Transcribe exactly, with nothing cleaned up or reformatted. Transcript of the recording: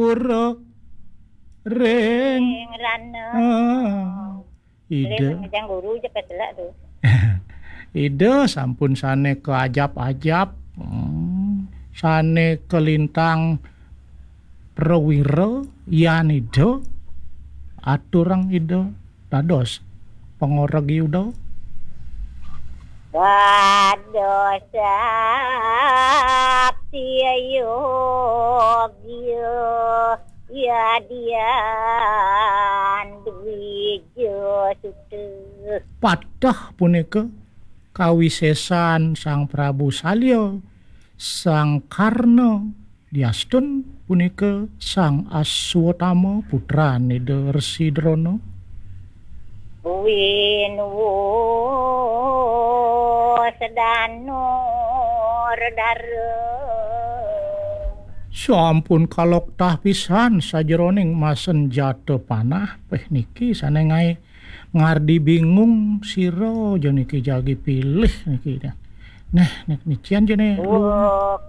Pura ring Ing rana. Ah, Ida. Ring Jang Guru je peselak tu. Ida sampun sane kaajap-ajap, hmm, sane kalintang prawira, yan Ida, aturang Ida dados pangoregi Ida. Dados sakti yogya yadian dwija suta. Patah punika kawisesan Sang Prabu Salya, Sang Karna, diastun punika Sang Aswatama, putran Ida Resi Drona. Winuwa sedana redara. Sampun kaloktah pisan sajeroning masenjata panah. Peh, niki sane ngae ngardi bingung sira ja niki jagi pilih niki. Neh, nek nician jene. Wah,